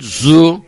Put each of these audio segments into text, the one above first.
zu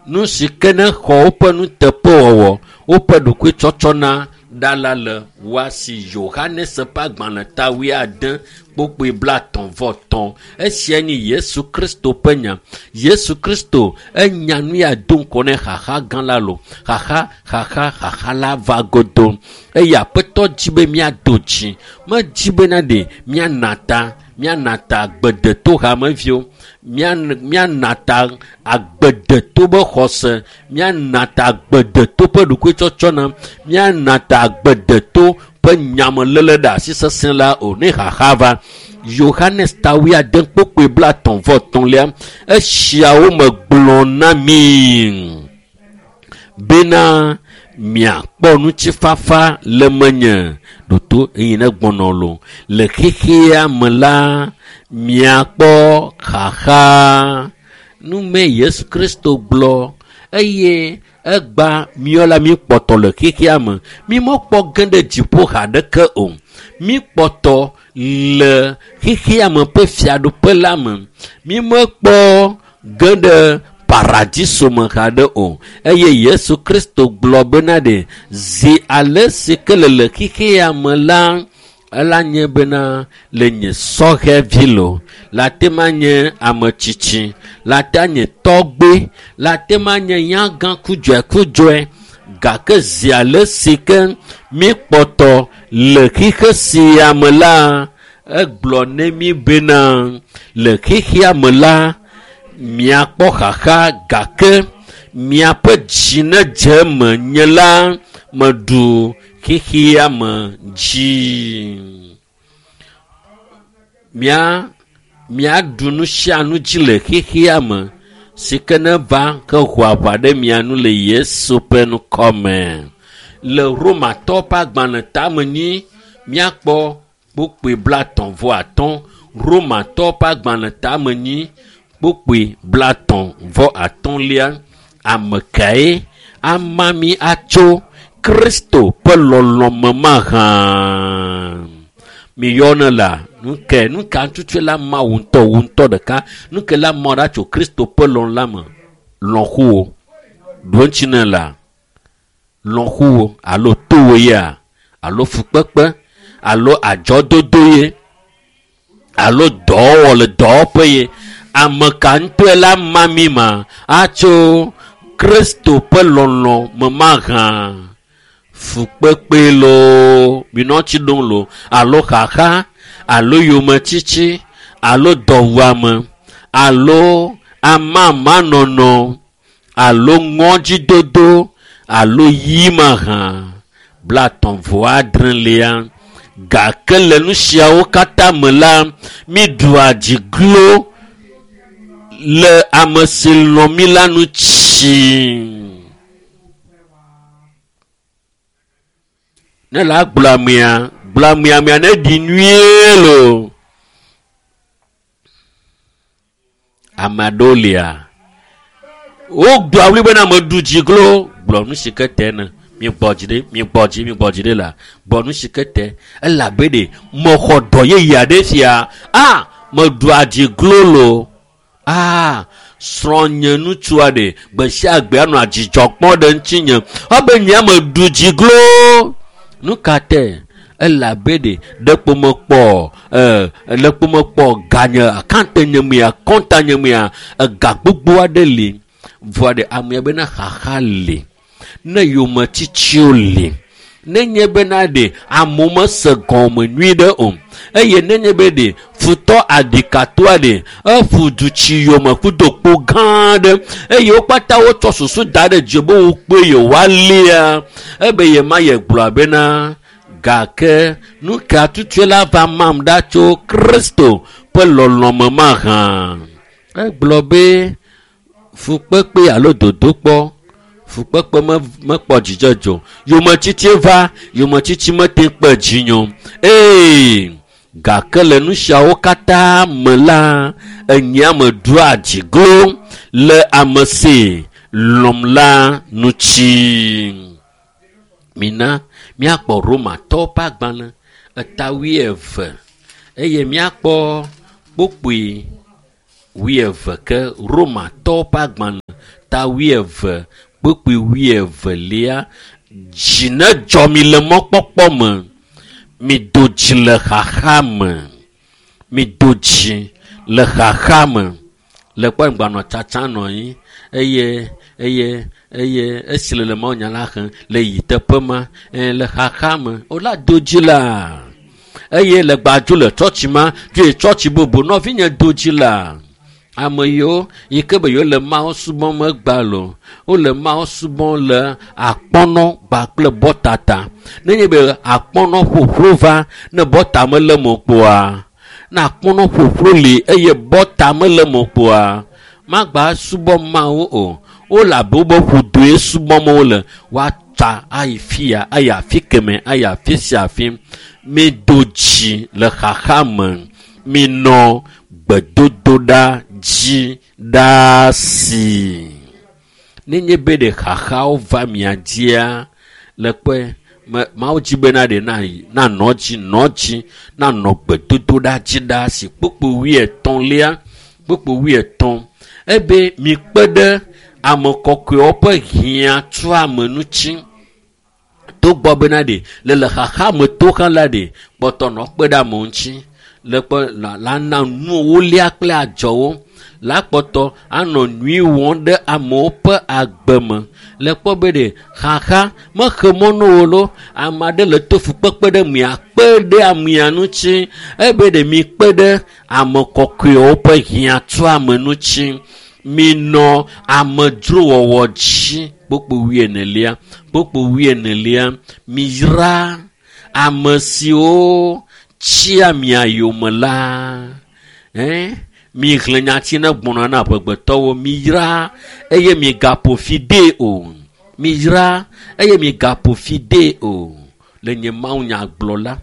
nu si ke ne xɔ woƒe nuteƒewɔwɔ, woƒe ɖokuitsɔtsɔna ɖa la le woa si. Yohanes ƒe agbalẽ ta wuiade kpokpoe 33. Esia nye Yesu Kristo ƒe nya. Yesu Kristo enya nu ya do ŋgɔ ne xaxa gã la lo. Xaxa, xaxa, xaxa la va godo. Eye Aƒetɔ dzi be míado dzi. Medzi bena ɖe míana ta, míana ta agbedeto hameviwo, míana ta agbedeto be xɔse, míana ta agbedeto ƒe ɖokuitsɔtsɔna, míana ta agbedeto ƒe nyameléle ɖe asi sesẽ la o ne xaxa va. Yohanes ta wuiade kpokpoe 33 esiawo megblɔ na mi bena miakpɔ ŋutifafa le menye ɖoto eye ne gbɔnɔ lo le xexea me la miakpɔ xaxa. Nume Yesu Kristo gblɔ eye egba miɔ la mi kpɔtɔ le xexea me. Mi mekpɔ ge ɖe dziƒo haɖeke o. Mi kpɔtɔ le xexea me ƒe fiaɖuƒe la me. Mi mekpɔ ge ɖe paradiso me haɖe o. Eye Yesu Kristo gblɔ bena ɖe zi ale si ke le le xexea me la, ela nye bena le nye sɔhɛvi lo, la te ma nye ame tsitsi, la te nye tɔgbe, la te ma nye nyagã kudzɔe gake zi ale si ke mi kpɔtɔ le xexe sia me la, egblɔ ne mi bena le xexea me la miakpɔ xaxa gake miaƒe dzi ne dze eme nye la meɖu xexea me dzi. Miaɖu nu sia nu dzi le xexea me si ke ne va ke ho aʋa ɖe mia nu le Yesu ƒe ŋkɔme. Le Romatɔwo ƒe agbalẽ tame nyi miakpɔ kpokpoe 35. Romatɔwo ƒe agbalẽ tame nyi kpokpoe 33. Ame kae ama mi atso Kristo ƒe lɔlɔ̃ me mahã? Miyɔne la nuke nuka tutu la ma wo ŋutɔ wo ŋutɔ ɖeka nuke la ma ɖa tso Kristo ƒe lɔlɔ̃ la me lɔ̃xowo ɖo ŋuti ne la lɔ̃xowo alo towo ya alo fukpekpe alo adzɔdodo ye alo dɔwɔwɔ le dɔwɔƒe ye ame ka ŋutɔe la ma mi ma atso Kristo ƒe lɔlɔ̃ me mahã? Fukpekpe loo minɔ tsi ɖom lo alo xaxa alo yometsitsi alo dɔwuame alo amamanɔnɔ alo ŋɔdzidodo alo yi mahã 36. Gake le nu siawo katã me la miɖua dzi glo le ame si lɔ̃ mi la ŋuti. Ne la gblɔ amea, gblɔ amea amea ne ɖi nyuie lo. Ame aɖewo lia, wogblɔ awuli bena meɖu dzi glo, gblɔ nu si ke te ne. Mi gbɔ dzi ɖe, mi gbɔ dzi, mi gbɔ dzi ɖe la, gblɔ nu si ke te. Elabe ɖe mexɔ dɔ yeye aɖe fia. A, meɖua dzi glo lo. A, srɔ̃nye ŋutsua ɖe gbe sia gbe anɔ adzidzɔ kpɔm ɖe ŋutinye. Ebe nye meɖu dzi glo. Nu ka te? Elabe ɖe ɖekpo mekpɔ, ɖekpo mekpɔ ganye, akante nye mea, kɔnta nye mea, ega gbogbo aɖe li. Vɔa ɖe amea bena xaxa li. Ne yometsitsiwo li. Nenye bena ɖe amewo mese gɔme nyui ɖe o. Eye nenye be ɖe futɔ aɖikatoa ɖe eƒu du tsi yome kudo kpo gã aɖe eye wo katã wotsɔ susu da ɖe dzi be wokpe yewoalia. Ebe yema ye gblɔ bena gake nu ka tutue la va mam ɖa tso Kristo ƒe lɔlɔ̃ me mahã? Egblɔ be fukpekpe alo dodokpɔ fukpekpe mekpɔ dzidzedze o. Yometsitsi va, yometsitsi mete kpe dzinye o. Ee, gake le nu siawo katã me la, enyea meɖua dzi glo le ame si lɔ̃m la ŋuti. Mina míakpɔ Romatɔwo ƒe agbalẽ eta 20 eye míakpɔ kpokpoe 20 ke Romatɔwo ƒe agbalẽ ta 20 kpukpui 21. Dzi ne dzɔ mi le mɔkpɔkpɔ me. Mi do dzi le xaxa me. Mi do dzi le xaxa me. Le kpɔ ŋgbanɔ tsatsa nɔ anyi eye eye eye esi le le mawunya la xlẽm le yi teƒe ma le xaxa me. Wola do dzi la. Eye le gbadzo le tsɔtsi ma dzo yi tsɔtsi bubu nɔvinye do dzi la. Ame yiwo yi ke be yewo le Mawu subɔm egba lo, wole Mawu subɔm le akpɔnɔ kpakple bɔtata. Nenye be akpɔnɔ ƒoƒlo va ne bɔta mele me kpoa, ne akpɔnɔ ƒoƒlo li eye bɔta mele me kpoa, magba subɔ Mawu o. Wole abe wobe ƒodoe subɔm wole. Woatsa ayi fia, ayi afi keme, ayi afi sia afi. Mi do dzi le xaxa me. Minɔ gbedodoɖa dzi ɖaa si. Nenye be ɖe xaxawo va mia dzia, le kpɔe Mawu dzi bena ɖe nanɔ dzi, nɔ dzi, nanɔ gbedodoɖa dzi ɖaa si. Kpukpui 80, kpukpui 80. Ebe mikpe ɖe ame kɔkɔewo ƒe hiãtuame ŋuti. Togbɔ bena ɖe le xaxa me to hã la ɖe kpɔtɔ nɔ kpe ɖe amewo ŋuti. Le kpɔ la na nuwo lia kple adzɔwo. La kpɔtɔ anɔ nyui wɔm ɖe amewo ƒe agbe me. Le kpɔ be ɖe xaxa mexe mɔ na wo lo. Ame aɖe le to fukpekpe ɖe mia kpe ɖe amea ŋuti. Ebe ɖe mikpe ɖe ame kɔkɔewo ƒe hiãtuame ŋuti. Minɔ amedzrowɔwɔ dzi. Kpukpui 40, kpukpui 40. Miyra ame siwo tsia mia yome la. Mixlẽ nyati ne gbɔna na amegbetɔwo. Miyra eye migaƒo fi dee o. Miyra eye migaƒo fi dee o. Le nye mawunya gblɔ la,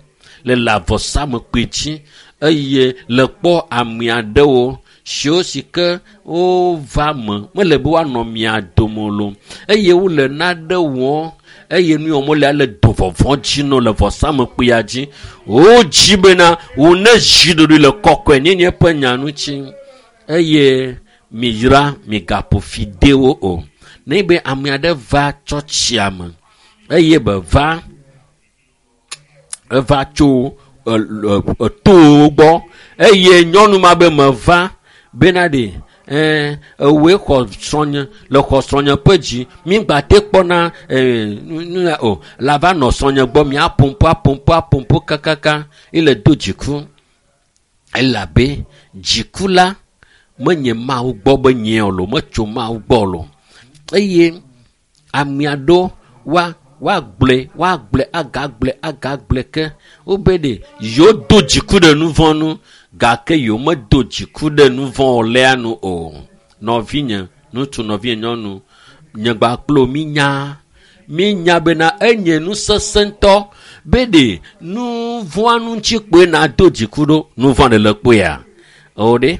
le le avɔsamekpui dzi eye le kpɔ ame aɖewo siwo si ke wova me mele be woanɔ mia dome lo eye wole nane wɔm eye nu yiwo wole le do vɔvɔ̃ dzi nɔ le vɔsamekpuia dzi. Wodzi bena wone zi ɖoɖoe le kɔkɔenyenye ƒe nya ŋuti eye miyra migaƒo fi de wo o. Ne be ame aɖe va tsɔtsia me eye be va eva tso etowo gbɔ eye nyɔnu ma be meva bena ɖe ewoe xɔ srɔ̃nye le xɔ srɔ̃nye ƒe dzi migba te kpɔna nu ya o la va nɔ srɔ̃nye gbɔ miapompo apompo apompo kakaka ele do dziku elabe dziku la menye Mawu gbɔ be nye o lo metso Mawu gbɔ lo eye ame aɖewo woagblɔe woagblɔe agagblɔe agagblɔe ke wobe ɖe yewo do dziku ɖe nu vɔ̃ nu gake yewo medo dziku ɖe nu vɔ̃ wɔlea nu o. Nɔvinye ŋutsu, nɔvinye nyɔnu, nye gba kple minya minya bena enye nu sesẽ ŋutɔ be ɖe nu vɔ̃a nu ŋuti kpoe nado dziku ɖo. Nu vɔ̃ ɖe le kpoea? O ɖe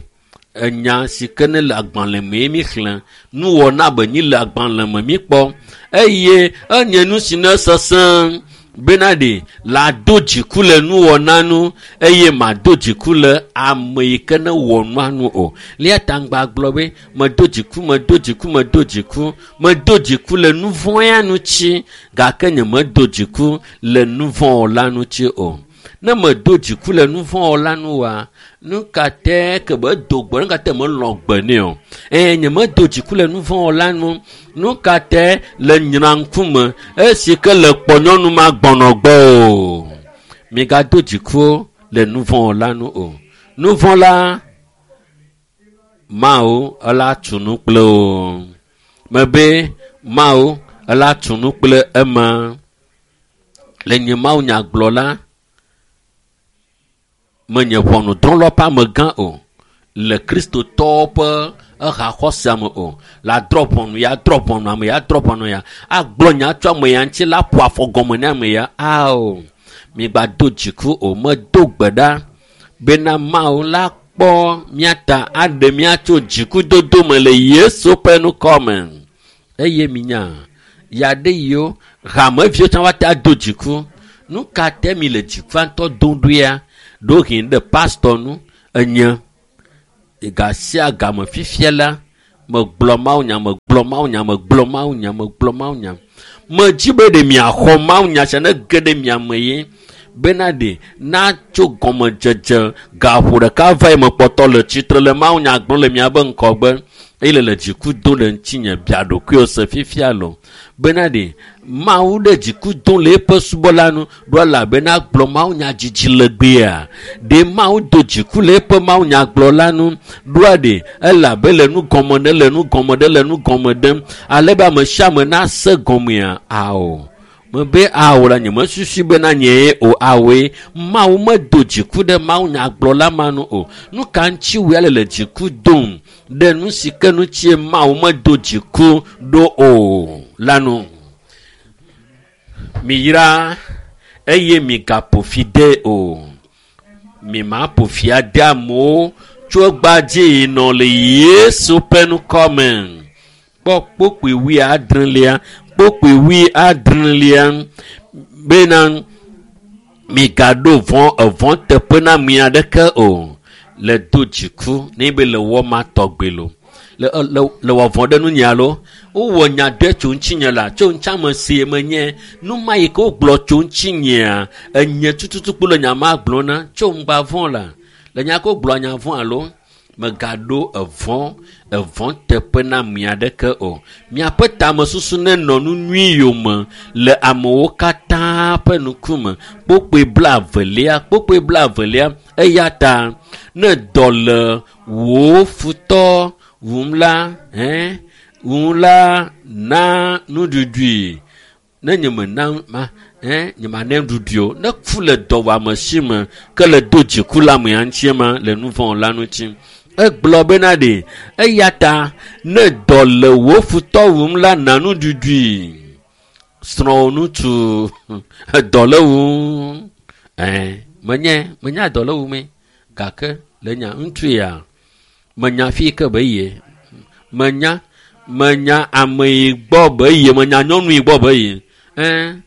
enya si ke ne le agbalẽ mee mi xlẽ nuwɔna be nyi le agbalẽ me mi kpɔ eye enye nu si ne sesẽ bena ɖe la do dziku le nuwɔna nu eye mado dziku le ame yi ke ne wɔ nua nu o. Lia ta ŋgba gblɔ be medo dziku, medo dziku, medo dziku, medo dziku le nu vɔ̃ ya ŋuti gake nye medo dziku le nu vɔ̃ wɔla ŋuti o. Ne medo dziku le nu vɔ̃ wɔla nu oa, nu ka te ke be do gbe, nu ka te melɔ̃ gbe nɛ o. Nye medo dziku le nu vɔ̃ wɔla nu, nu ka te le nyra ŋkume esi ke le kpɔ nyɔnu ma gbɔnɔ gbɔ o. Migado dziku le nu vɔ̃ wɔla nu o. Nu vɔ̃ la, Mawu ela tu nu kple o. Mebe Mawu ela tu nu kple ema. Le nye Mawu nya gblɔ la, menye ʋɔnudrɔ̃la ƒe amegã o le kristotɔwo ƒe ehaxɔsea me o. La drɔ̃ ʋɔnu ya, drɔ̃ ʋɔnu ame ya, drɔ̃ ʋɔnu ya, agblɔ nya tso ame ya ŋuti la ƒo afɔ gɔme ne ame ya. Ao, migba do dziku o. Medo gbe ɖa bena Mawu la kpɔ mía ta aɖe mía tso dzikudodo me le Yesu ƒe ŋkɔ me. Eye minya ya ɖe yiwo hameviwo tsã woate ado dziku. Nu ka te mi le dzikua ŋutɔ dom ɖoea? Ɖewohĩ ɖe pastɔ nu enye ga sia game fifia la Megblɔ mawunya, megblɔ mawunya, megblɔ mawunya, megblɔ mawunya. Medzi be ɖe miaxɔ mawunya sia ne ge ɖe mia me ye bena ɖe natso gɔmedzedze gaƒo ɖeka va yi mekpɔtɔ le tsitre le mawunya gblɔm le miabe ŋkɔgbe eye le le dziku dom ɖe ŋutinye bia ɖokuiwò se fifia lo bena ɖe Mawu ɖe dziku dom le eƒe subɔla nu ɖo elabena gblɔ mawunya dzidzi legbea. Ɖe Mawu do dziku le eƒe mawunyagblɔla nu ɖoa ɖe elabe le nu gɔme ɖe le nu gɔme ɖe le nu gɔme ɖem ale be ame sia ame nase gɔmea ao. Mebe ao la nye mesusu bena nyee o awoe. Mawu medo dziku ɖe mawunyagblɔla ma nu o. Nu ka ŋuti wòe le le dziku dom ɖe nu si ke ŋutie Mawu medo dziku ɖo o la nu? Miyra eye migaƒo fi de o. Mimaƒo fi ade amewo tso egbea dzi yi nɔ le Yesu ƒe ŋkɔ me. Kpɔ kpokpui wuiadrelia, kpokpui wuiadrelia bena migaɖo vɔ̃ evɔ̃ teƒe na ame aɖeke o. Le do dziku ne be le wɔ ma tɔgbe lo. Le le le wɔ vɔ̃ ɖe nunye alo wowɔ nya ɖe tso ŋutinye la tso ŋuti ame si menye nu ma yi ke wogblɔ tso ŋutinyea enye tututu kpo le nya ma gblɔ na tso ŋgba vɔ̃ la le nya ke wogblɔ nya vɔ̃ alo megaɖo evɔ̃ evɔ̃ teƒe na ame aɖeke o. Miaƒe tamesusu nenɔ nu nyui yome le amewo katã ƒe ŋkume. Kpokpui blaevelia, kpokpui blaevelia eya ta ne dɔ le wò futɔ wum la, hɛn wum la na nuɖuɖui. Ne nye me na ma, hɛn nye ma ne nuɖuɖui o. Ne ku le dɔwɔame si me ke le do dziku le amea ŋuti ma le nu vɔ̃ la ŋuti. Egblɔ bena ɖe eya ta ne dɔ le wò futɔ wum la na nuɖuɖui. Srɔ̃wò ŋutsu dɔ le wum. Ɛn menye menya dɔ le wumee gake le nya ŋutsu ya menya fi ke be yie. Menya menya ame yi gbɔ be yie menya nyɔnu yi gbɔ be yie. Ɛn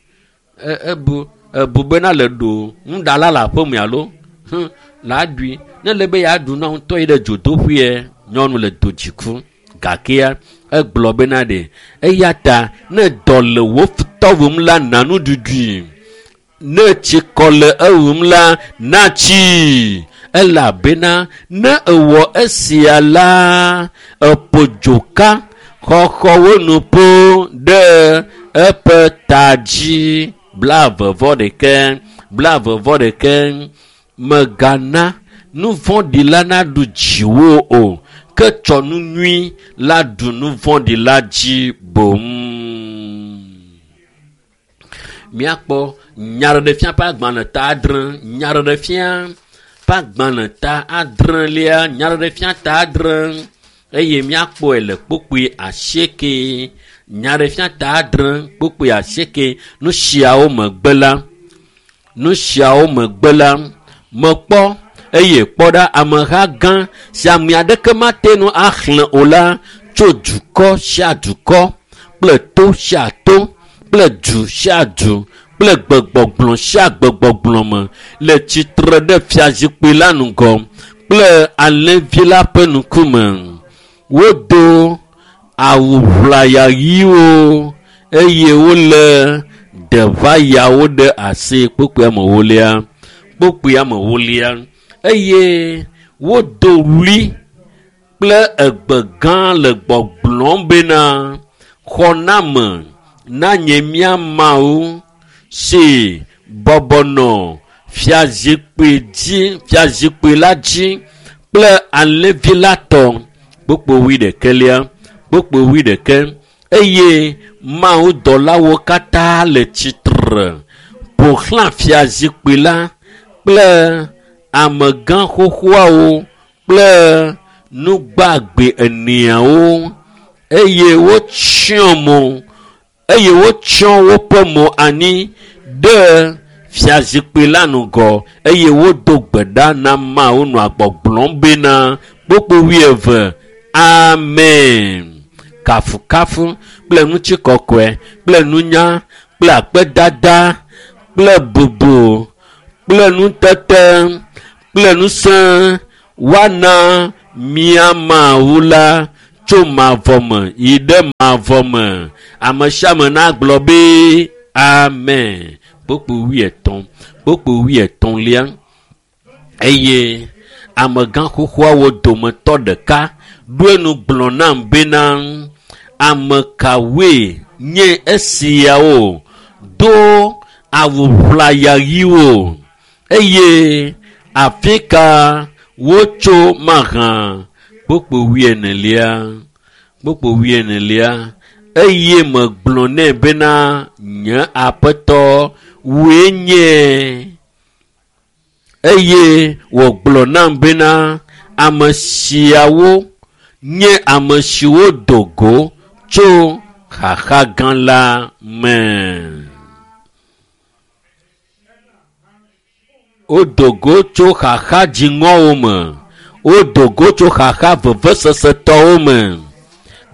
ebu ebu bena le ɖo nuɖala le aƒeme alo hm la ɖui ne le be yeaɖu na ŋutɔ yi ɖe dzodoƒee nyɔnu le do dziku gakea egblɔ bena ɖe eya ta ne dɔ le wò futɔ wum la na nuɖuɖui. Ne tsikɔ le ewum la na tsii elabena ne ewɔ esia la eƒo dzoka xɔxɔwo nu ƒo ɖe eƒe ta dzi. 26 26 megana nu vɔ̃ɖi la naɖu dziwò o ke tsɔ nu nyui la ɖu nu vɔ̃ɖi la dzi boŋ. Míakpɔ nyaɖeɖefia ƒe agbalẽ ta adre, nyaɖeɖefia ƒe agbalẽ ta adrelia, nyaɖeɖefia ta adre eye míakpɔe le kpokpui asieke. Nyaɖeɖefia ta adre kpokpui asieke. Nu siawo megbe la, nu siawo megbe la, mekpɔ eye kpɔ ɖa ameha gã si ame aɖeke mate ŋu axlẽ o la tso dukɔ sia dukɔ kple to sia to kple du sia du kple gbegbɔgblɔ sia gbegbɔgblɔ me le tsitre ɖe fiazikpui la ŋgɔ kple alẽvi la ƒe ŋkume. Wodo awu ʋlaya ɣiwo eye wole deʋayawo ɖe asi kpokpui amewolia kpokpui amewolia eye wodo ɣli kple egbe gã le gbɔgblɔm bena xɔname na nye mía Mawu si bɔbɔ nɔ fiazikpui dzi fiazikpui la dzi kple alẽvi la tɔ kpokpui wuiɖekɛlia kpokpui wuiɖekɛ eye mawudɔlawo katã le tsitre ƒo xlã fiazikpui la kple amegã xoxoawo kple nugbagbe eneawo eye wotsyɔ mo eye wotsyɔ woƒe mo anyi ɖe fiazikpui la ŋgɔ eye wodo gbe ɖa na Mawu nɔa gbɔgblɔm bena kpokpui wuieve amen. Kafukafu kple ŋutikɔkɔe kple nunya kple akpedada kple bubu kple nutete kple ŋusẽ woana mía Mawu la tso mavɔ me yi ɖe mavɔ me. Ame sia ame nagblɔ be amen. Kpukpui wuietɔ̃, kpukpui wuietɔ̃lia eye amegã xoxoawo dometɔ ɖeka ɖo enu gblɔ nam bena ame kawoe nye esiawo do awu ʋlaya ɣiwo eye afi ka wotso mahã? Kpukpui wuienelia, kpukpui wuienelia eye megblɔ nɛ bena nye aƒetɔ wòe nye. Eye wògblɔ nam bena ame siawo nye ame siwo do go tso xaxa gã la me. Wodo go tso xaxa dziŋɔwo me. Wodo go tso xaxa vevesesetɔwo me.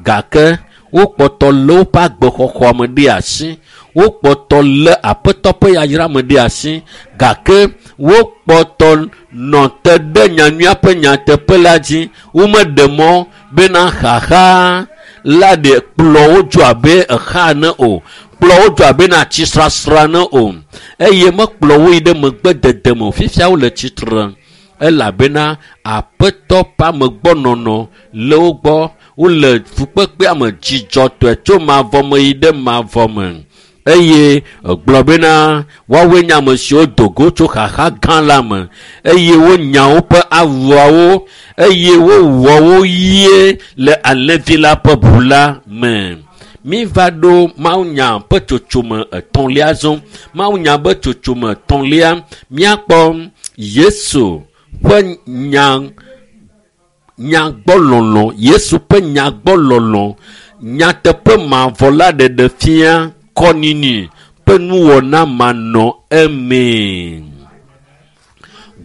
Gake wokpɔtɔ lé woƒe agbexɔxɔ me ɖe asi. Wokpɔtɔ lé aƒetɔ ƒe yayra me ɖe asi. Gake wokpɔtɔ nɔ te ɖe nyanyuia ƒe nyateƒe la dzi. Womeɖe mɔ bena xaxa la ɖe kplɔ wo dzo abe exa ene o. Kplɔ wo dzo abe na atsisrasra ene o. Eye mekplɔ wo yi ɖe megbe dede me o. Fifia wole tsitre elabena aƒetɔ ƒe amegbɔnɔnɔ le wo gbɔ. Wole fukpekpea me dzidzɔtɔe tso mavɔ me yi ɖe mavɔ me. Eye egblɔ bena woawoe nye ame siwo do go tso xaxa gã la me eye wonya woƒe awuawo eye wowɔ wo ɣie le alẽvi la ƒe ʋu la me. Míva ɖo mawunya ƒe tsotsome etɔ̃lia zɔ. Mawunya ƒe tsotsome etɔ̃lia míakpɔ Yesu ƒe nya nyagbɔlɔlɔ Yesu ƒe nyagbɔlɔlɔ nyateƒe mavɔ la ɖeɖe fia kɔnini ƒe nuwɔna manɔ emee.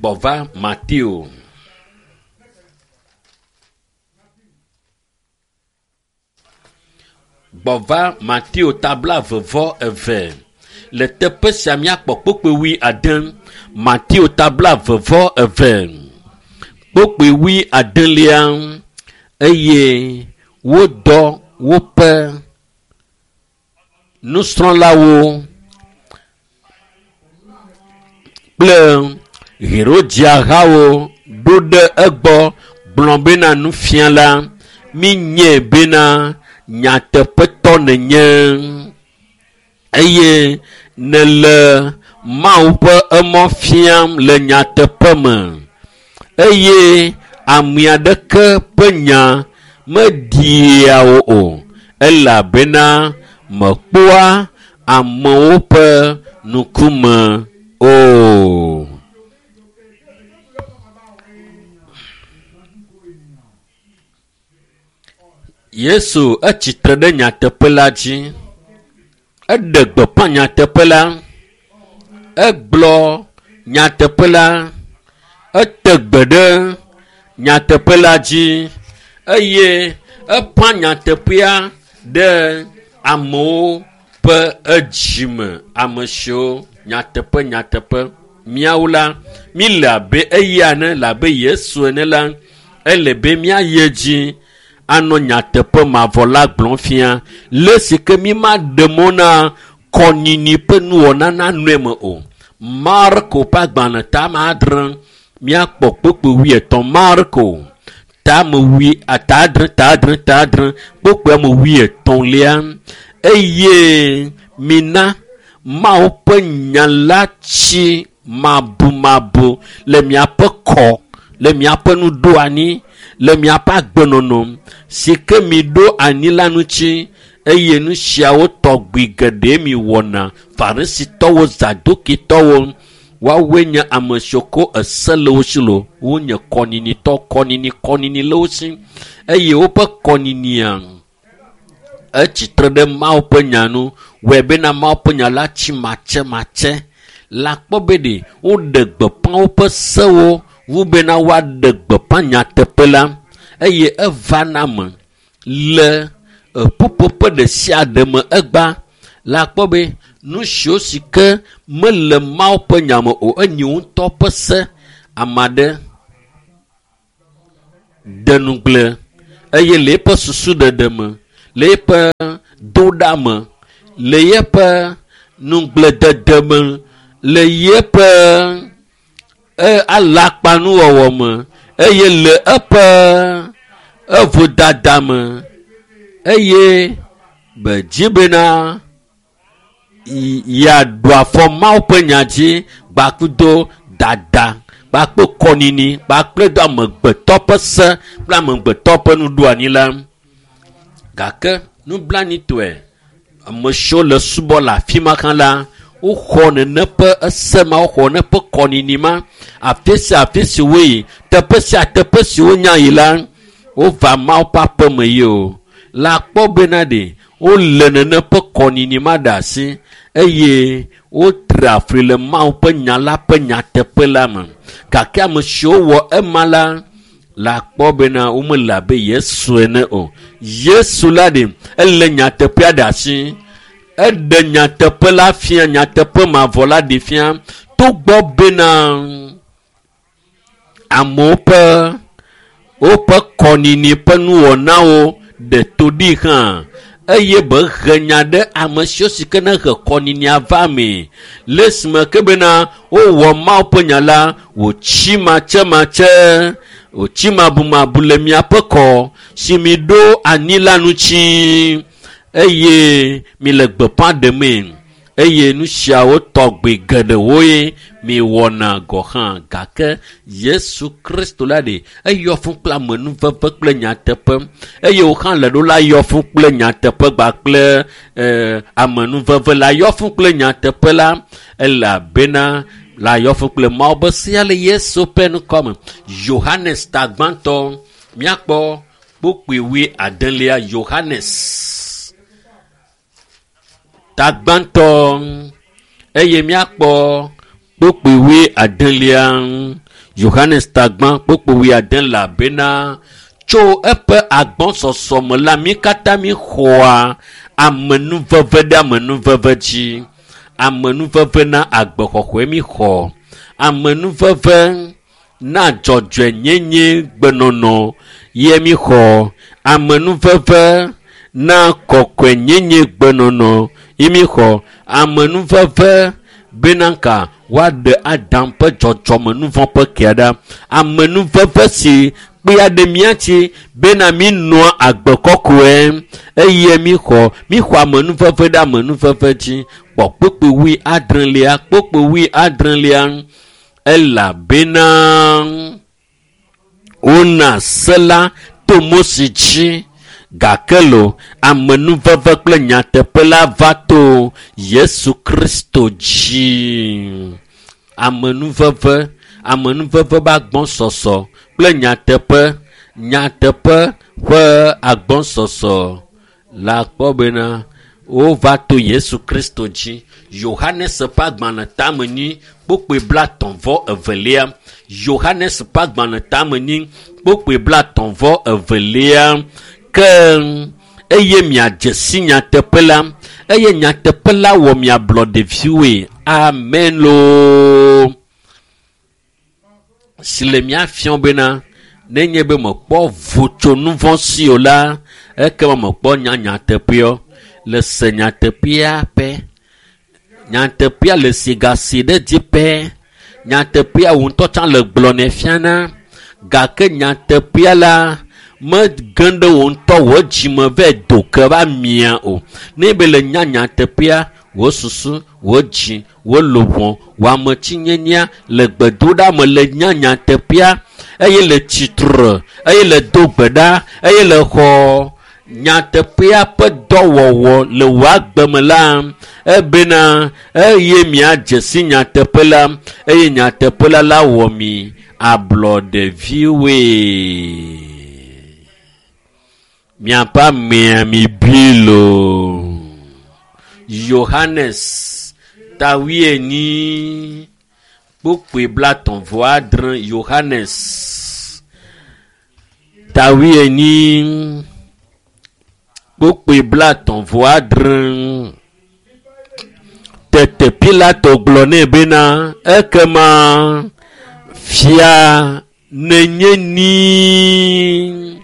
Gbɔva Mateo. Gbɔva Mateo tabla vevɔ eve. Le teƒe sia míakpɔ kpukpui wui ade. Mateo tabla vevɔ eve. Kpukpui wui adelia eye wodɔ woƒe nusrɔ̃lawo kple Herodiahawo ɖo ɖe egbɔ gblɔ bena nufiala míenyae bena nyateƒetɔ nènye eye nèle Mawu ƒe emɔ fiam le nyateƒe me eye ame aɖeke ƒe nya meɖia wò o elabena mekpɔa amewo ƒe ŋkume o. Yesu etsitre ɖe nyateƒe la dzi. Eɖe gbeƒã nyateƒe la. Egblɔ nyateƒe la. Ete gbe ɖe nyateƒe la dzi eye eƒã nyateƒea ɖe amewo ƒe edzime. Ame siwo nyateƒe nyateƒe míawo la míle abe eya ene le abe Yesu ene la ele be míayi edzi anɔ nyateƒe mavɔ la gblɔm fia le si ke mímaɖe mɔ na kɔnyinyi ƒe nuwɔna nanɔ eme o. Marko ƒe agbalẽ tame adre míakpɔ kpukpui wuietɔ̃. Marko tame wui ta adre ta adre ta adre kpukpui ame wuietɔ̃lia eye mina Mawu ƒe nya la tsi mabumabu le miaƒe kɔ le miaƒe nuɖoanyi le miaƒe agbenɔnɔ si ke miɖo anyi la ŋuti eye nu siawo tɔgbi geɖe mi wɔna. Farisitɔwo, Zadukitɔwo woawoe nye ame siwo ko ese le wo si lo. Wonye kɔnyinitɔ kɔnyinyi kɔnyinyi le wo si eye woƒe kɔnyinyia etsitre ɖe Mawu ƒe nya nu wɔe bena Mawu ƒe nya la tsi matsematse. Le akpɔ be ɖe woɖe gbeƒã woƒe sewo wu bena woaɖe gbeƒã nyateƒe la eye eva na me le ƒuƒoƒe ɖe sia ɖe me egba le akpɔ be nu siwo si ke mele Mawu ƒe nya me o enye ŋutɔ ƒe se. Ame aɖe de ŋugble. Eye le eƒe susuɖeɖe me, le eƒe doɖa me, le eƒe nugbledede me, le eƒe alakpanuwɔwɔ me, eye le eƒe evodada me, eye be dzi bena yeaɖu afɔ Mawu ƒe nya dzi gbakudo dada kpakple kɔnini kpakple do amegbetɔ ƒe se kple amegbetɔ ƒe nuɖoanyi la. Gake nublanitɔe, ame siwo le subɔ le afi ma hã la, woxɔ nene ƒe ese ma, woxɔ nene ƒe kɔnini ma. Afi sia afi si woyi, teƒe sia teƒe si wonya yi la, wova Mawu ƒe aƒeme yi o. Le akpɔ bena ɖe wole nene ƒe kɔnini ma ɖe asi eye wotra fli le Mawu ƒe nya la ƒe nyateƒe la me. Gake ame siwo wɔ ema la, le akpɔ bena womele abe Yesu ene o. Yesu la ɖe ele nyateƒea ɖe asi. Eɖe nyateƒe la fia, nyateƒe mavɔ la ɖe fia. Togbɔ bena amewo ƒe woƒe kɔnini ƒe nuwɔnawo ɖe to ɖi hã, eye be he nya ɖe ame siwo si ke ne he kɔninia va mee. Le esime ke bena wowɔ Mawu ƒe nya la wòtsi matsematse, wòtsi mabumabu le miaƒe kɔ si mi ɖo anyi la ŋuti, eye mi le gbeƒã ɖemee, eye nu siawo tɔgbi geɖewoe mi wɔna gɔ hã. Gake Yesu Kristo la ɖe eyɔ fũ kple amenuveve kple nyateƒe, eye wò hã le ɖo la yɔ fũ kple nyateƒe kpakple amenuveve la yɔ fũ kple nyateƒe la, elabena la yɔ fũ kple Mawu be sea le Yesu ƒe ŋkɔ me. Yohanes ta gbãtɔ, míakpɔ kpukpui wui adelia. Yohanes ta gbãtɔ eye míakpɔ kpukpui wui adelia. Yohanes ta gbã kpukpui wui adelia bena tso eƒe agbɔsɔsɔ me la mí katã mí xɔa amenuveve ɖe amenuveve dzi. Amenuveve na agbexɔxɔe mí xɔ. Amenuveve na dzɔdzɔenyenye gbenɔnɔ ye mí xɔ. Amenuveve na kɔkɔenyenye gbenɔnɔ ye mí xɔ. Amenuveve bena ka woaɖe Adam ƒe dzɔdzɔmenuvɔ̃ ƒe kea ɖa. Amenuveve si kpea ɖe mía dzi bena mí nɔa agbe kɔkɔe eye mí xɔ amenuveve ɖe amenuveve dzi. Kpɔ kpukpui wui adrelia, kpukpui wui adrelia, elabena wona se la to Mose dzi, gake lo amenuveve kple nyateƒe la va to Yesu Kristo dzi. Amenuveve, amenuveve ƒe agbɔsɔsɔ kple nyateƒe, nyateƒe ƒe agbɔsɔsɔ la kpɔ bena wova to Yesu Kristo dzi. Yohanes ƒe agbalẽ tame nyi kpukpui 32. Yohanes ƒe agbalẽ tame nyi kpukpui 32. Ke eye miadze si nyateƒe la, eye nyateƒe la wɔ miablɔɖeviwoe. Amen loo. Si le mía fiɔ bena nenye be mekpɔ vo tso nu vɔ̃ si o la, ekema mekpɔ nya nyateƒeɔ. Le se nyateƒea ƒe. Nyateƒea le si gasi ɖe dzi ƒe. Nyateƒea wò ŋutɔ tsã le gblɔnɛ fiana. Gake nyateƒea la mege ɖe wò ŋutɔ wò dzime vɛ do ke va mia o. Ne be le nya nyateƒea, wò susu, wò dzi, wò luʋɔ, wò ametsinyenyea le gbedoɖa me le nya nyateƒea, eye le tsitre, eye le do gbe ɖa, eye le xɔ nyateƒea ƒe dɔwɔwɔ le wò agbe me la, ebena eye miadze si nyateƒe la, eye nyateƒe la la wɔ mi ablɔɖeviwoe. Miaƒe amea mi bui loo. Yohanes ta wuienyi kpukpui 36. Yohanes ta wuienyi kpukpui 36. Tete Pilato gblɔ nɛ bena, ekema fia nenye ni.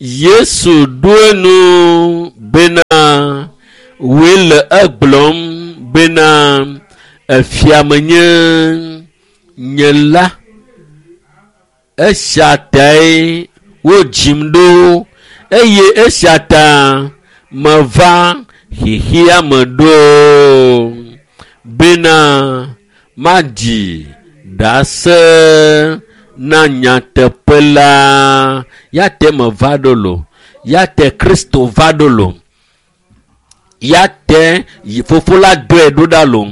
Yesu ɖo enu bena wòe le egblɔm bena efia menye nye la. Esia tae wodzim ɖo eye esia ta meva xexea me ɖo bena maɖi ɖase na nyateƒe la. Ya te meva ɖo lo, ya te Kristo va ɖo lo, ya te fofo la dɔe ɖo ɖa lo.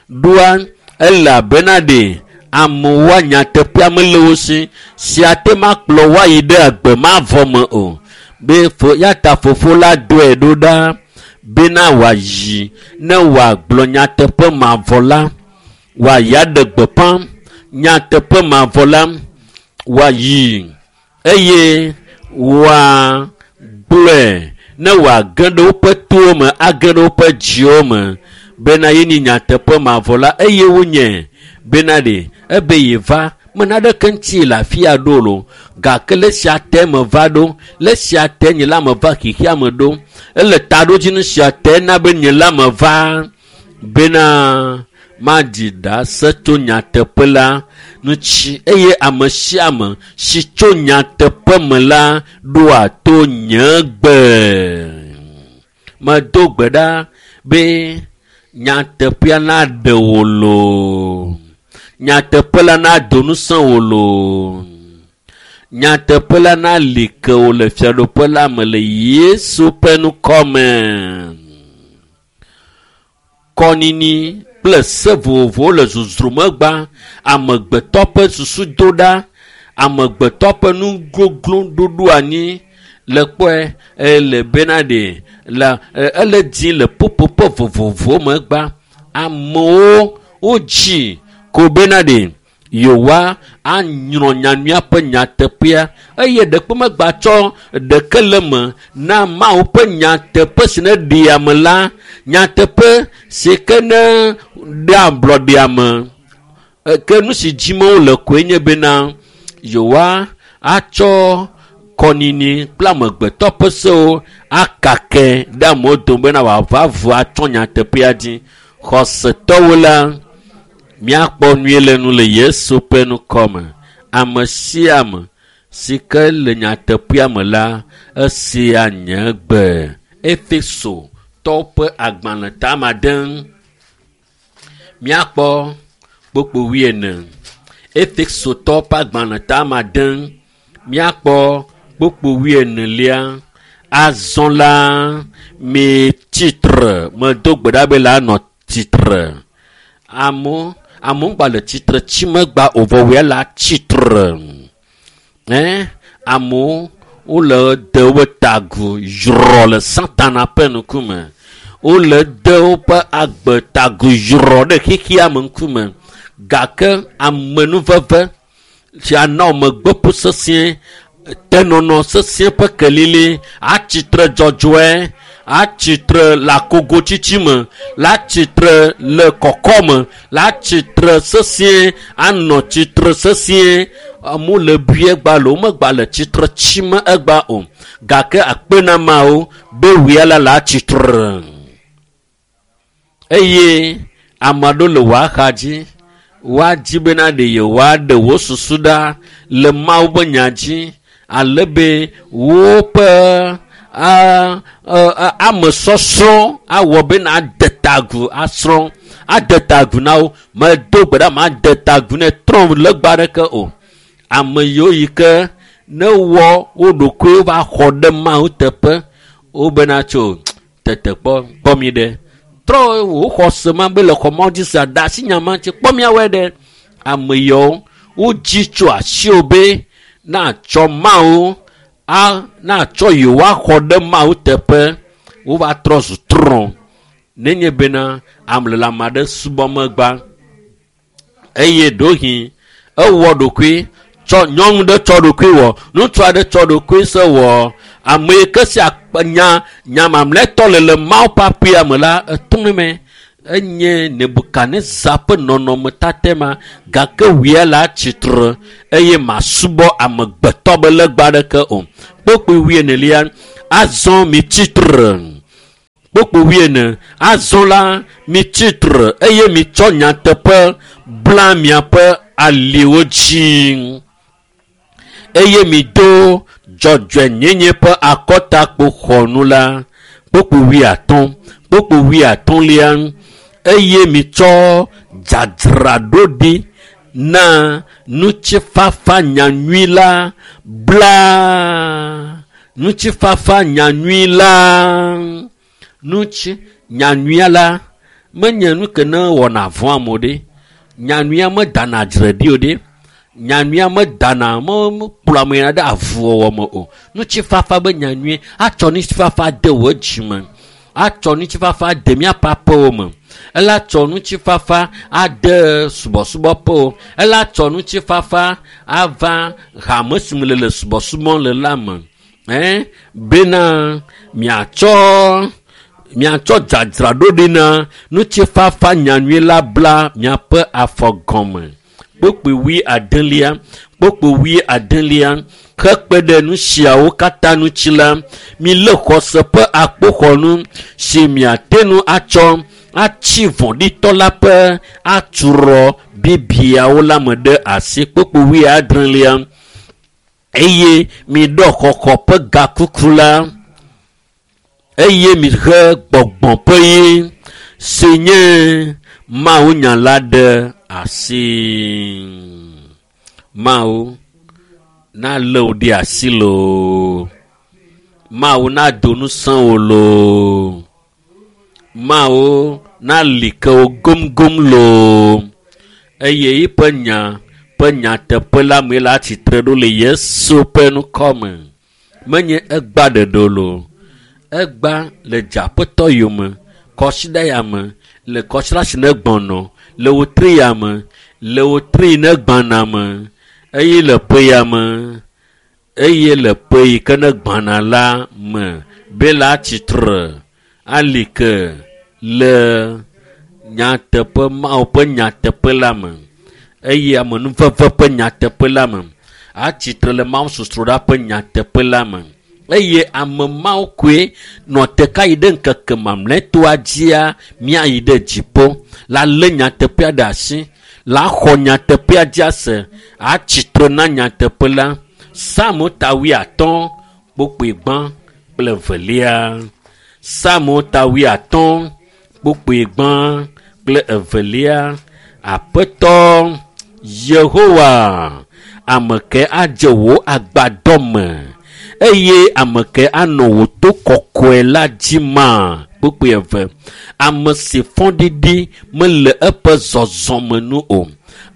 Ɖoa elabena ɖe amewoa nyateƒea mele wo si sia te makplɔ woayi ɖe agbe mavɔ me o. Be ya ta fofo la dɔe ɖo ɖa bena wòayi ne wòagblɔ nyateƒe mavɔ la, wòayi aɖe gbeƒã nyateƒe mavɔ la, wòayi eye wòagblɔe ne wòage ɖe woƒe towo me, age ɖe woƒe dziwo me bena ye nye nyateƒe mavɔ la eye wonye bena ɖe ebe yeva me naɖeke ŋuti le afi ya ɖo lo gake le sia te meva ɖo, le sia te nye la meva xexea me ɖo, ele taɖodzinu sia te na be nye la meva bena maɖi ɖase tso nyateƒe la ŋuti eye ame sia ame si tso nyateƒe me la ɖoa to nye gbe. Medo gbe ɖa be nyateƒea naɖe wò loo, nyateƒe la nado ŋusẽ wò loo, nyateƒe la nali ke wò le fiaɖuƒe la me le Yesu ƒe ŋkɔ me. Kɔnini kple se vovovowo le zozromegba, amegbetɔ ƒe susu do ɖa, amegbetɔ ƒe nugoglo ɖoɖo anyi le kpɔe ele bena ɖe la ele dzi le ƒuƒoƒe vovovowo megba. Amewo wodzi ko bena ɖe yewoa anyrɔ nyanyuia ƒe nyateƒea eye ɖekpe megba tsɔ ɖeke le me na Mawu ƒe nyateƒe si ne ɖea ame la, nyateƒe si ke ne ɖea ablɔɖe ame. Ke nu si dzim wole koe nye bena yewoa atsɔ kɔnini kple amegbetɔ ƒe sewo akake ɖe amewo dome bena wòava vo atsɔ nyateƒea dzi. Xɔsetɔwo la, míakpɔ nyuie le nu le Yesu ƒe ŋkɔ me. Ame sia ame si ke le nyateƒea me la, esea nye gbe. Efesotɔwo ƒe agbalẽ tama ɖe míakpɔ kpokpo wuiene. Efesotɔwo ƒe agbalẽ tama ɖe míakpɔ kpokpo wuienelia. Azɔ la mi tsitre, medo gbe ɖa be la nɔ tsitre. Amewo ŋgba le tsitre tsi megba o vɔ wòya la tsitre. Amewo wole de woƒe tagu zrɔ le Satana ƒe ŋkume. Wole de woƒe agbe tagu zrɔ ɖe xexea me ŋkume. Gake amenuveve si ana megbeƒu sesĩe, tenɔnɔ sesĩe ƒe kelili, atsitre dzɔdzɔe, atsitre le akogotsitsi me, le atsitre le kɔkɔme, le atsitre sesĩe, anɔ tsitre sesĩe. Amewo le bui egba le womegba le tsitre tsime egba o. Gake akpe na Mawu be wòya la le atsitre. Eye ame aɖewo le wò axa dzi, woadzi bena ɖe yewoaɖe wò susu ɖa le Mawu ƒe nya dzi ale be woƒe amesɔsrɔ̃ awɔ bena ade ta agu asrɔ̃, ade ta agu na wo. Medo gbe ɖa made ta agu ne trɔ̃ legba aɖeke o. Ame yiwo yi ke ne wɔ wo ɖokuiwo va xɔ ɖe Mawu teƒe, wobena tso tetekpɔ kpɔ mi ɖe. Trɔ wò xɔse ma be le xɔ Mawu dzi sea, ɖe asi nya ma ŋuti kpɔ miawɔe ɖe. Ame yiwo wodzi tso asiwò be natsɔ Mawu natsɔ yewoaxɔ ɖe Mawu teƒe, wova trɔ zu trɔ̃. Nenye bena ame le ame aɖe subɔ megba eye ɖewohĩ ewɔ ɖokui tsɔ nyɔnu ɖe tsɔ ɖokui wɔ, ŋutsu aɖe tsɔ ɖokui se wɔ, ame yi ke sia nya nya mamlɛtɔ le le Mawu ƒe aƒea me la, etɔ̃ me. Enye Nebukadnezar ƒe nɔnɔmetate ma gake wòya la tsitre eye masubɔ amegbetɔ be legba aɖeke o. Kpokpo wuienelia, azɔ mi tsitre. Kpokpo wuiene, azɔ la mi tsitre eye mitsɔ nyateƒe bla miaƒe aliwo dzi eye mido dzɔdzɔenyenye ƒe akɔtakpoxɔnu la. Kpokpo wuiatɔ̃, kpokpo wuiatɔ̃lia, eye mitsɔ dzadzraɖoɖi na ŋutifafa nyanyui la bla ŋutifafa nyanyui la ŋuti nyanyuia la menye nu ke ne wɔna vɔ̃ amewo ɖe. Nyanyuia medana dzre ɖi o ɖe. Nyanyuia medana mekplɔ ame yina ɖe avuwɔwɔ me o. Ŋutifafa be nyanyui atsɔ ŋutifafa de wò dzime, atsɔ ŋutifafa de míaƒe aƒewo me, ela tsɔ ŋutifafa ade subɔsubɔƒewo, ela tsɔ ŋutifafa ava hame si me le le subɔsubɔm le la me. Bena miatsɔ dzadzraɖoɖi na ŋutifafa nyanyui la bla miaƒe afɔ gɔme. Kpokpo wuiadelia, kpokpo wuiadelia, hekpe ɖe nu siawo katã ŋuti la, milé xɔse ƒe akpoxɔnu si miate ŋu atsɔ atsi vɔ̃ɖitɔ la ƒe aturɔ bibiawo la me ɖe asi. Kpokpo wuiadrelia, eye miɖɔ xɔxɔ ƒe gakuku la, eye mihe gbɔgbɔ ƒe ɣi si nye Mawunya la ɖe asi. Mawu nalé wò ɖe asi loo. Mawu nado ŋusẽ wò loo. Mawu nali ke wò gomgom loo. Eye eƒe nya ƒe nyateƒe la me la tsitre ɖo le Yesu ƒe ŋkɔ me. Menye egba ɖeɖe loo. Egba le dzeaƒetɔ yome, kɔsiɖa ya me, le kɔsiɖa si ne gbɔnɔ, le wotri ya me, le wotri ne gbana me, eye le ƒe ya me, eye le ƒe yi ke ne gbana la me, be la tsitre ali ke le nyateƒe Mawu ƒe nyateƒe la me, eye amenuveve ƒe nyateƒe la me, atsitre le Mawu sosroɖa ƒe nyateƒe la me. Eye ame mawo koe nɔ te ka yi ɖe ŋkeke mamlɛtɔa dzia míayi ɖe dziƒo la lé nyateƒea ɖe asi, la xɔ nyateƒea dzi ase, atsitre na nyateƒe la. Psalmo ta wuiatɔ̃ kpokpoe gbã kple evelia. Psalmo ta wuiatɔ̃ kpokpoe gbã kple evelia. Aƒetɔ Yehowa, ame ke adze wò agbadɔ me, eye ame ke anɔ wò to kɔkɔe la dzi ma. Kpokpoe eve. Ame si fɔɖiɖi mele eƒe zɔzɔme nu o.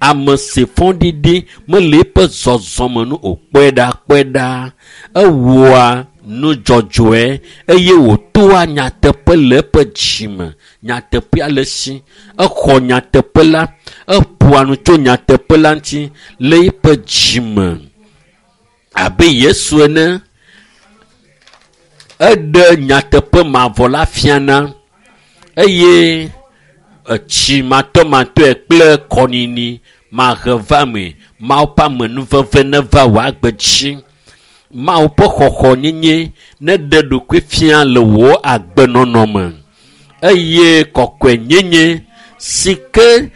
Ame si fɔɖiɖi mele eƒe zɔzɔme nu o. Kpɔe ɖa, kpɔe ɖa. Ewɔa nu dzɔdzɔe eye wòtoa nyateƒe le eƒe dzime. Nyateƒea le esi. Exɔ nyateƒe la, eƒoa nu tso nyateƒe la ŋuti le eƒe dzime. Abe Yesu ene, eɖe nyateƒe mavɔ la fiana eye etsi matɔmatɔe kple kɔnini mahe va me. Mawu ƒe amenuveve neva wò agbe dzi. Mawu ƒe xɔxɔ nyenye neɖe ɖokui fia le wò agbenɔnɔ me. Eye kɔkɔenyenye si ke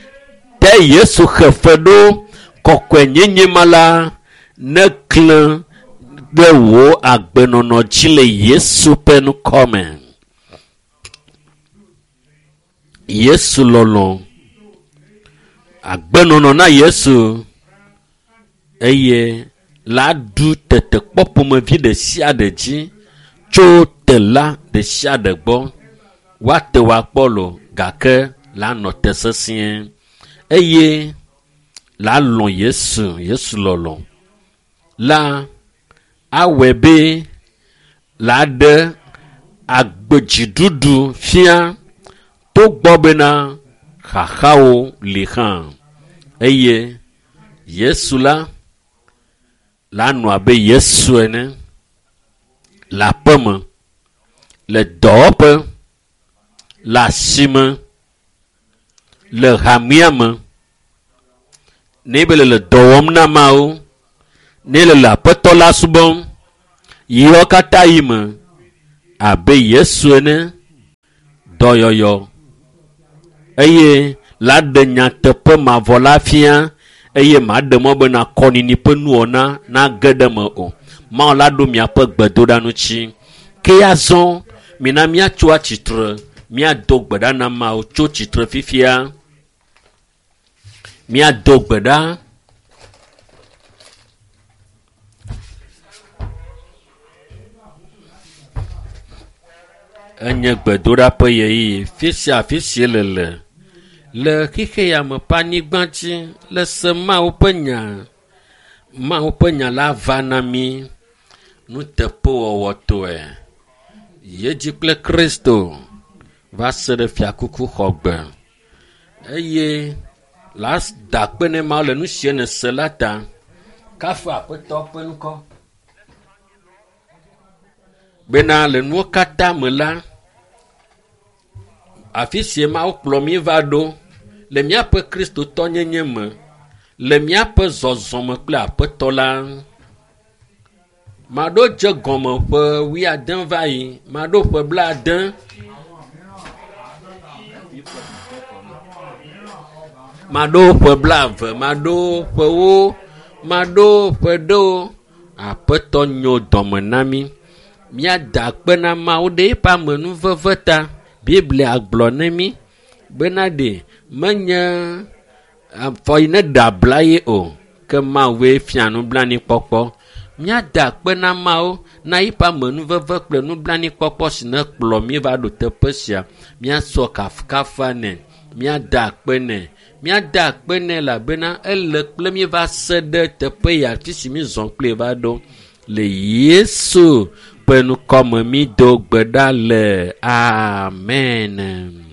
te Yesu xe fe ɖo, kɔkɔenyenye ma la neklẽ ɖe wò agbenɔnɔ dzi le Yesu ƒe ŋkɔ me. Yesu lɔlɔ̃, agbenɔnɔ na Yesu eye la ɖu tetekpɔ ƒomevi ɖe sia ɖe dzi tso tela ɖe sia ɖe gbɔ. Woate wò akpɔ lo, gake la nɔ te sesĩe eye la lɔ̃ Yesu. Yesu lɔlɔ̃ la awɔe be la ɖe agbedziɖuɖu fia togbɔ bena xaxawo li hã. Eye Yesu la la nɔ abe Yesu ene le aƒeme, le dɔwɔƒe, le asime, le hamea me. Ne be le dɔ wɔm na Mawu, ne le le Aƒetɔ la subɔm, Yiwo katã yi me abe Yesu ene, dɔyɔyɔ eye la ɖe nyateƒe mavɔ la fia eye maɖe mɔ bena kɔnini ƒe nuwɔna nage ɖe me o. Mawu la ɖo miaƒe gbedoɖa ŋuti. Ke azɔ mina míatso atsitre, míado gbe ɖa na Mawu tso tsitre fifia. Míado gbe ɖa. Enye gbedoɖa ƒe ɣeyiɣi. Fi sia afi si le le xixe ya me ƒe anyigba dzi le se Mawu ƒe nya. Mawu ƒe nya la va na mí nuteƒewɔwɔtɔe. Yedzi kple Kristo va se ɖe fiakuku xɔgbe eye la da akpe ne Mawu le nu sie nèse la ta. Kafu Aƒetɔ ƒe ŋkɔ. Bena le nuwo katã me la, afi sie Mawu kplɔ mí va ɖo le míaƒe kristotɔnyenye me, le míaƒe zɔzɔme kple Aƒetɔ la. Maɖo dze gɔme ƒe wuiade va yi, maɖo ƒe blaade. Maɖo ƒe blaeve, maɖo ƒewo, maɖo ƒe ɖewo. Aƒetɔ nyo dɔme na mí. Míada akpe na Mawu ɖe eƒe amenuveve ta. Biblia gblɔ ne mí bena ɖe menye afɔ yi ne ɖe abla ye o, ke Mawue fia nublanuikpɔkpɔ. Míada akpe na Mawu na eƒe amenuveve kple nublanuikpɔkpɔ si ne kplɔ mí va ɖo teƒe sia. Míasɔ kafukafu nɛ, míada akpe nɛ, míada akpe nɛ elabena ele kple mí va se ɖe teƒe ya afi si mízɔ kple va ɖo. Le Yesu ƒe ŋkɔme mído gbe ɖa le. Amen.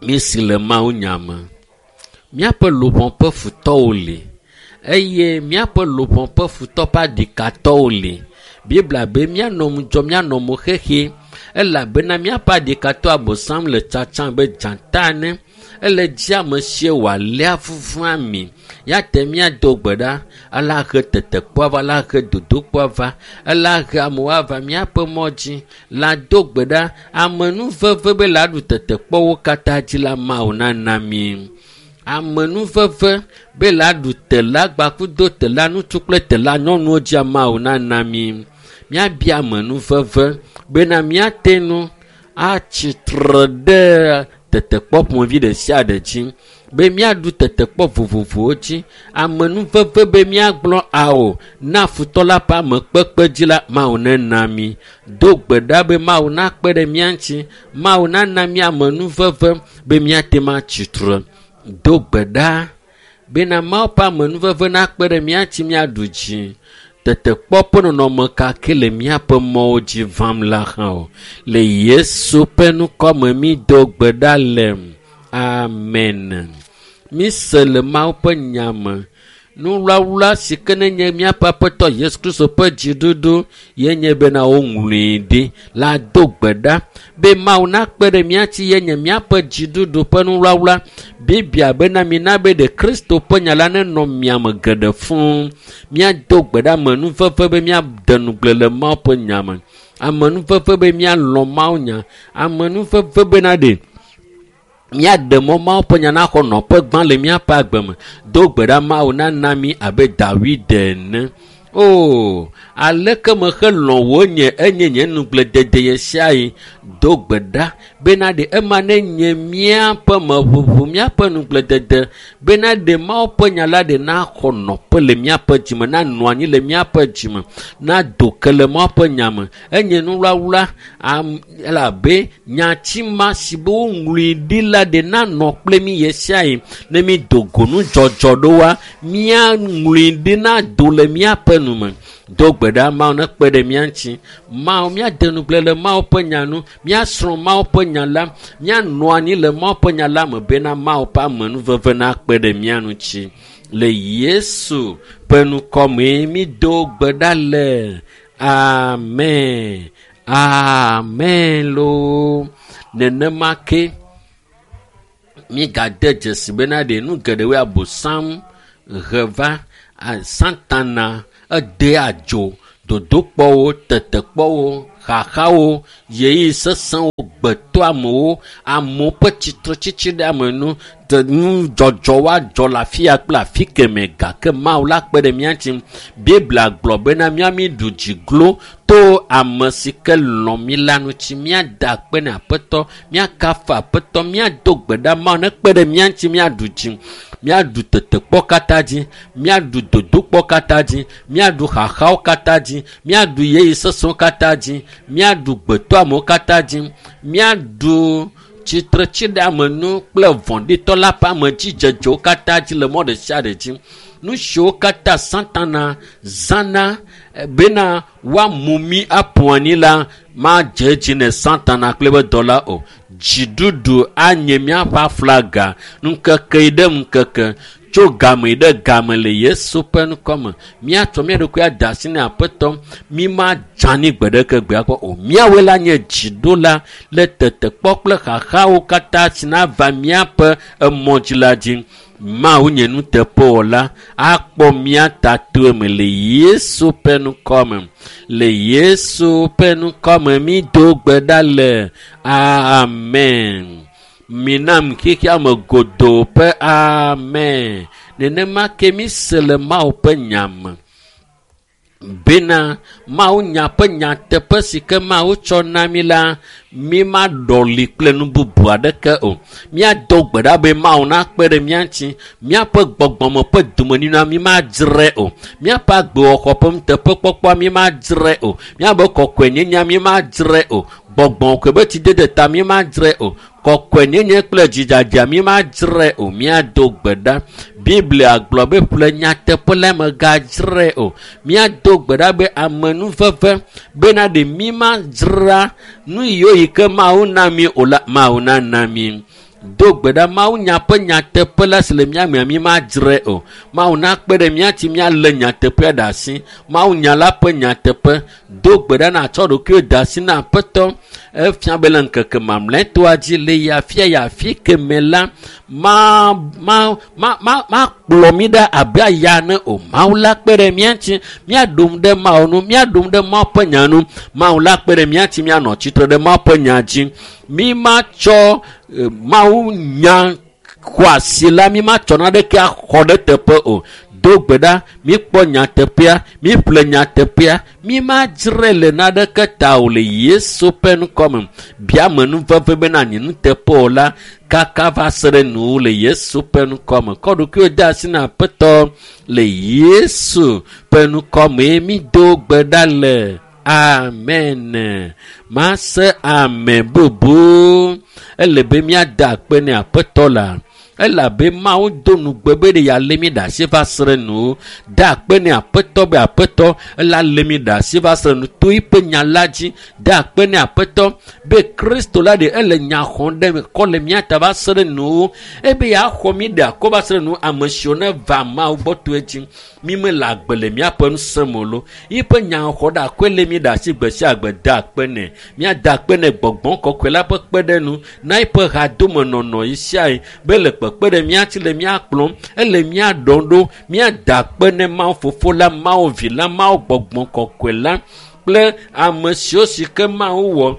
Mísi le Mawu nya me. Míaƒe luʋɔ ƒe futɔwo li eye míaƒe luʋɔ ƒe futɔ ƒe aɖikatɔwo li. Biblia be míanɔ ŋudzɔ, míanɔ mo xexi elabena míaƒe aɖikatɔ Abosam le tsatsam be dzata ene. Ele dzi ame sie wòaléa vuvu ami. Ya te míado gbe ɖa, ela he tetekpɔa va, ela he dodokpɔa va, ela he amewo ava míaƒe mɔ dzi. La do gbe ɖa, amenuveve be la ɖu tetekpɔwo katã dzi la Mawu nana mí. Amenuveve be la ɖu tela gbakudo tela ŋutsu kple tela nyɔnuwo dzia Mawu nana mí. Míabia amenuveve bena míate ŋu atsitre ɖe tetekpɔ ƒomevi ɖe sia ɖe dzi be míaɖu tetekpɔ vovovowo dzi. Amenuveve be míagblɔ ao na futɔ la ƒe amekpekpe dzi la Mawu nena mí. Do gbe ɖa be Mawu nakpe ɖe mía ŋuti. Mawu nana mí amenuveve be míate ŋu atsitre. Do gbe ɖa bena Mawu ƒe amenuveve nakpe ɖe mía ŋuti míaɖu dzi. Tetekpɔ ƒe nɔnɔme ka ke le míaƒe mɔwo dzi vam la hã o. Le Yesu ƒe ŋkɔme mído gbe ɖa le. Amen. Míse le Mawu ƒe nya me. Nuwlawla si ke nenye míaƒe Aƒetɔ Yesu Kristo ƒe dziɖuɖu ye nye bena woŋlɔe ɖi la do gbe ɖa be Mawu nakpe ɖe mía ŋuti ye nye míaƒe dziɖuɖu ƒe nuwlawla. Biblia bena mina be ɖe Kristo ƒe nya la nenɔ mia me geɖe fũu. Míado gbe ɖa amenuveve be míade ŋugble le Mawu ƒe nya me. Amenuveve be míalɔ̃ Mawu nya. Amenuveve bena ɖe míaɖe mɔ Mawu ƒe nya naxɔ nɔƒe gbã le míaƒe agbe me. Do gbe ɖa Mawu nana mí abe Dawid ene. O, aleke mehelɔ̃ wò nye enye nye nugledede ɣe sia ɣi. Do gbe ɖa bena ɖe ema nenye míaƒe meʋuʋu, míaƒe nugledede bena ɖe Mawu ƒe nya la ɖe naxɔ nɔƒe le míaƒe dzime, nanɔ anyi le míaƒe dzime, nado ke le Mawu ƒe nya me. Enye nuwlawla elabe nyati ma si be woŋlɔe ɖi la ɖe nanɔ kple mí ɣe sia ɣi. Ne mído go nudzɔdzɔ ɖewoa, míaŋlɔe ɖi nado le míaƒe nu me. Do gbe ɖa Mawu nekpe ɖe mía ŋuti. Mawu, míade ŋugble le Mawu ƒe nya ŋu, míasrɔ̃ Mawu ƒe nya la, míanɔ anyi le Mawu ƒe nya la me bena Mawu ƒe amenuveve nakpe ɖe mía ŋuti. Le Yesu ƒe ŋkɔmee mído gbe ɖa le. Amen. Amen loo. Nenema ke mígade dzesi bena ɖe nu geɖewoe Abosam he va Satana edea dzo Dodokpɔwo, tetekpɔwo, xaxawo, ɣeyiɣi sesẽwo, gbetɔamewo, amewo ƒe tsitretsitsi ɖe ame nu, nudzɔdzɔ woadzɔ le afi ya kple afi kemɛ gake Mawu la kpe ɖe mía ŋuti. Biblia gblɔ bena mía mi ɖu dzi glo to ame si ke lɔ̃ mí la ŋuti. Míada akpe na Aƒetɔ, míakafu Aƒetɔ, míado gbe ɖa Mawu nekpe ɖe mía ŋuti míaɖu dzi, míaɖu tetekpɔ katã dzi, míaɖu dodokpɔ katã dzi, míaɖu xaxawo katã dzi, míaɖu ɣeyiɣi sesẽwo katã dzi, míaɖu gbetɔamewo katã dzi, míaɖu tsitretsiɖeamenu kple vɔ̃ɖitɔ la ƒe amedzidzedzewo katã dzi le mɔ ɖe sia ɖe dzi. Nu siwo katã Satana zãna bena woamu mí aƒu anyi la madze edzi ne Satana kple eƒe dɔla o. Dziɖuɖu anye míaƒe aflaga ŋkeke yi ɖe ŋkeke tso game yi ɖe game le Yesu ƒe ŋkɔme. Míatsɔ mía ɖokui ade asi na Aƒetɔ. Mí madze anyi gbe ɖeke gbea kpɔ o. Míawoe la nye dziɖola le tetekpɔ kple xaxawo katã si nava míaƒe emɔ dzi la dzi. Mawu nye nuteƒewɔla akpɔ mía ta to eme le Yesu ƒe ŋkɔme. Le Yesu ƒe ŋkɔme mi do gbe ɖa le. Amen. Minam xexea me godoo ƒe amen. Nenema ke mi se le Mawu ƒe nya me bena Mawu nya ƒe nyateƒe si ke Mawu tsɔ na mí la, mí maɖɔli kple nu bubu aɖeke o. Míado gbe ɖa be Mawu nakpe ɖe mía ŋuti. Míaƒe gbɔgbɔme ƒe domenyinua mí madzrae o. Míaƒe agbewɔxɔ ƒe nuteƒekpɔkpɔa mí madzrae o. Míaƒe kɔkɔenyenyea mí madzrae o. Gbɔgbɔ kɔkɔe be tsidede ta mí madzrae o. Kɔkɔenyenye kple dzidzadzea mí madzrae o. Míado gbe ɖa. Biblia gblɔ be ƒle nyateƒe la megadzrae o. Míado gbe ɖa be amenuveve bena ɖe mí madzra nu yiwo yi ke Mawu na mí o la, Mawu nana mí. Do gbe ɖa Mawu nya ƒe nyateƒe la si le mía mea mí madzrae o. Mawu nakpe ɖe mía ŋuti míalé nyateƒea ɖe asi. Mawu nya la ƒe nyateƒe. Do gbe ɖa natsɔ ɖokuiwò de asi na Aƒetɔ. Efia be le ŋkeke mamlɛtɔa dzi le yi afia yi afi kemɛ la, makplɔ mí ɖa abe aya ene o. Mawu la kpe ɖe mía ŋuti míaɖom ɖe Mawu nu, míaɖom ɖe Mawu ƒe nya nu. Mawu la kpe ɖe mía ŋuti míanɔ tsitre ɖe Mawu ƒe nya dzi. Mí matsɔ Mawu nya xɔasi la, mí matsɔ naneke axɔ ɖe teƒe o. Do gbe ɖa, míkpɔ nyateƒea, míƒle nyateƒea, mí madzrae le naneke ta o le Yesu ƒe ŋkɔme. Bia amenuveve bena nye nuteƒe o la, kaka va se ɖe nuwò le Yesu ƒe ŋkɔme. Kɔ ɖokuiwò de asi na Aƒetɔ le Yesu ƒe ŋkɔme. Mi do gbe ɖa le. Amen. Mase ame bubu. Ele be míada akpe ne Aƒetɔ la. Elabe Mawu do nugbe be ɖe yealé mí ɖe asi va se ɖe nu. Da akpe ne Aƒetɔ be Aƒetɔ ela lé mí ɖe asi va se ɖe nu to eƒe nya la dzi. Da akpe ne Aƒetɔ be Kristo la ɖe ele nya xɔm ɖe kɔ le mía ta va se ɖe nu. Ebe yeaxɔ mí ɖe akɔ va se ɖe nu ame siwo ne va Mawu gbɔ to edzi. Mí mele agbe le míaƒe ŋusẽ me o lo. Yiƒe nya xɔ ɖe akɔe lé mí ɖe asi gbe sia gbe da akpe nɛ. Míada akpe nɛ gbɔgbɔ kɔkɔe la ƒe kpeɖenu na eƒe hadomenɔnɔ yi sia yi be le kpekpe ɖe mía ŋuti le mía kplɔm, ele mía ɖɔm ɖo. Míada akpe ne Mawu Fofo la, Mawu Vi la, Mawu Gbɔgbɔ Kɔkɔe la kple ame siwo si ke Mawu wɔ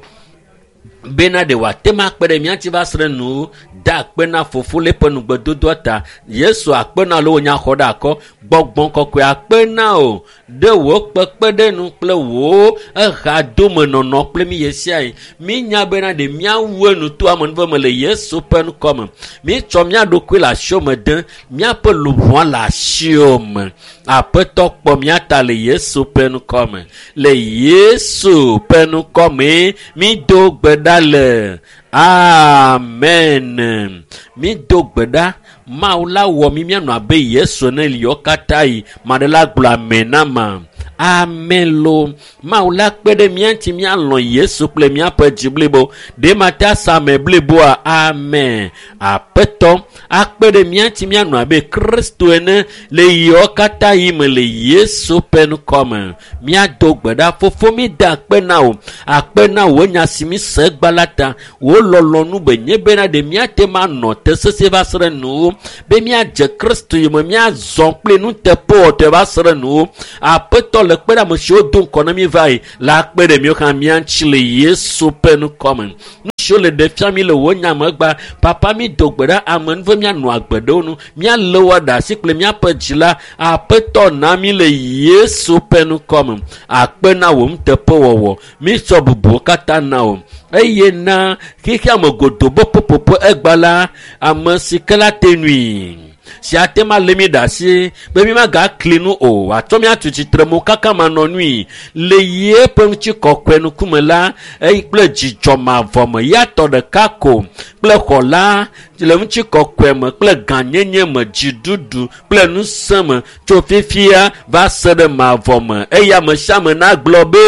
bena ɖe wòate ŋu akpe ɖe mía ŋuti va se ɖe nu. Da akpe na Fofo le eƒe nugbedodoa ta. Yesu akpe na alo wò nya xɔ ɖe akɔ. Gbɔgbɔ kɔkɔe akpe na wò ɖe wò kpekpeɖeŋu kple wò ehadomenɔnɔ kple mí ɣe sia ɣi. Mínya bena ɖe míawu enu to amenuveve me le Yesu ƒe ŋkɔme. Míetsɔ mía ɖokui le asiwò me dem. Míaƒe luʋɔa le asiwò me. Aƒetɔ kpɔ mía ta le Yesu ƒe ŋkɔme. Le Yesu ƒe ŋkɔme mído gbe ɖa le. Amen. Mído gbe ɖa. Mawu la wɔ mí míanɔ abe Yesu ene le yewo katã yi. Ame aɖe la gblɔ amen na ma. Amen lo. Mawu la kpe ɖe mía ŋuti míalɔ̃ Yesu kple míaƒe dzi blibo. Ɖe mate ase ame bliboa? Amen. Aƒetɔ akpe ɖe mía ŋuti míanɔ abe Kristo ene le yewo katã yi me le Yesu ƒe ŋkɔme. Míado gbe ɖa. Fofo mída akpe na wò. Akpe na wò nya si mí se egba la ta. Wò lɔlɔ̃nu be nye bena ɖe míate ŋu anɔ te sesĩe va se ɖe nuwò. Be míadze Kristo yome míazɔ kple nuteƒewɔtɔe va se ɖe nuwò. Aƒetɔ le le kpe ɖe ame siwo do ŋkɔ na mi va yi la kpe ɖe míwo hã mía ŋuti le Yesu ƒe ŋkɔ me. Nu siwo le ɖe fia mi le wò nya me gba, papa mi do gbe ɖa ame nuve míanɔ agbe ɖe wo nu, míalé wo ɖe asi kple míaƒe dzi la, Aƒetɔ na mi le Yesu ƒe ŋkɔ me. Akpe na wò nuteƒewɔwɔ, mítsɔ bubuwo katã na wò. Eye na xexea me godoo be ƒuƒoƒo egba la, ame si ke la te nui si ate ma lé mi ɖe asi be mi magakli nu o wòatsɔ mi atu tsitre mo kaka manɔ nui le yeƒe ŋutikɔkɔe ŋkume la eye kple dzidzɔ mavɔ me ya tɔ ɖeka ko kple xɔla le ŋutikɔkɔe me kple gãnyenye me dziɖuɖu kple ŋusẽ me tso fifia va se ɖe mavɔ me eye ame sia ame nagblɔ be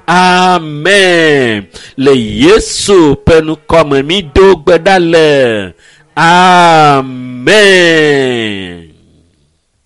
amen le Yesu ƒe ŋkɔ me mi do gbe ɖa le amen.